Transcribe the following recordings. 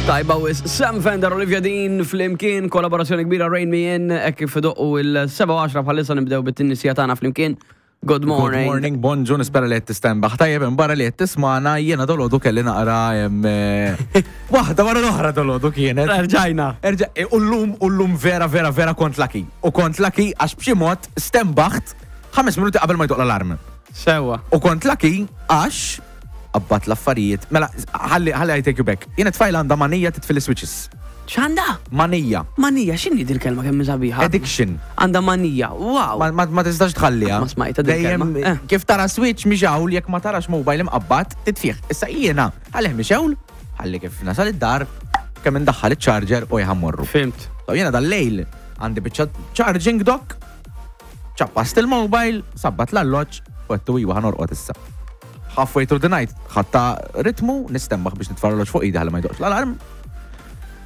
Tajba wis Sam Fender, Olivia Dean, flimkien, kollaborazzjoni kbira Rain Me In, hekk kif idoqqu il-7 bħalissa nibdew bit-tinnisija tagħna flimkien. Good morning. Good morning, bonġu, nispera li qed tistenbaħ. Tajjeb, barra li qed tismana, jiena dolodu kelli naqra waħda wara l-oħra dolodu kienet. Erġajna. Erġa, e, u llum, u llum vera, vera, vera kont lucky. U kont lucky għax b'xi mod stenbaħt 5 minuti qabel ma jdoq l-alarm. Sewa. U kont lucky għax qabbat l-affarijiet. Mela, ħalli ħalli I take you back. Jiena tfajla għandha manija titfi l-switches. X'għandha? Manija. Manija, x'inhi dil-kelma kemm sabiħa? Addiction. Għandha manija, wow. Ma, ma, ma tistax tħalliha. Ma smajtha dil-kelma. Dejjem kif tara switch mixgħul jekk ma tarax mobile imqabbad titfih. Issa jiena għalih mixgħul, ħalli kif nasal id-dar kemm indaħħal iċ-charger u jħammorru. Fimt. So jiena dal-lejl għandi biċċa charging dock, ċappast il-mobile, sabbat l-alloġġ u għedtu iwa ħa norqod issa. Halfway through the night, ħadta ritmu, nistembaħ biex nitfa' l-alloġġ fuq idi ħalli ma jdoqqx l-alarm.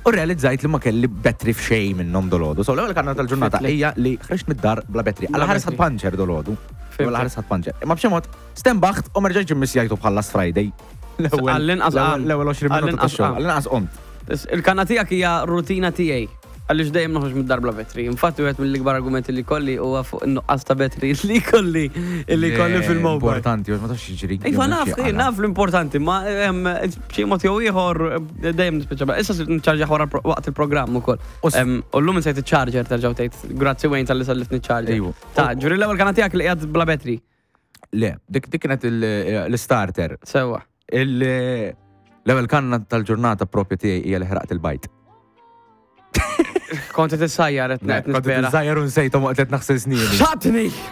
U realizzajt li ma kelli battery f'xejn minnhom dolodu. So l-ewwel kanna tal-ġurnata hija li ħriġt mid-dar bla battery. Alla ħares ħadd puncture dolodu. Alla ħares ħadd puncture. Imma b'xi mod stembaħt u ma rġajtx immissjajtu bħal last Friday. L-ewwel 20 minuta tax-xogħol. Għall-inqas qomt. Il-kanna tiegħek hija rutina tiegħi. Għaliex dejjem noħroġ mid-dar bla vetri. Infatti wieħed mill-ikbar argumenti li kolli huwa fuq in-nuqqas ta' vetri li kolli li kolli fil-mobile. Importanti, ma tafx jiġri. Iva naf, naf l-importanti, ma b'xi mod jew ieħor dejjem nispiċċa. Issa sirt niċċarġja wara waqt il-programm ukoll. U llum insejt iċ-charger terġgħu tgħid grazzi Wayne tal-li sallifni ċ-charger. Ta' ġuri l-ewwel kana tiegħek li qiegħed bla vetri. Le, dik kienet l-starter. Sewa. L-ewwel kanna tal-ġurnata propju tiegħi hija li ħraqt il-bajt. Kont qed issajjar qed Kont qed issajjar u nsejthom waqt qed naħsel snieni. Xatni!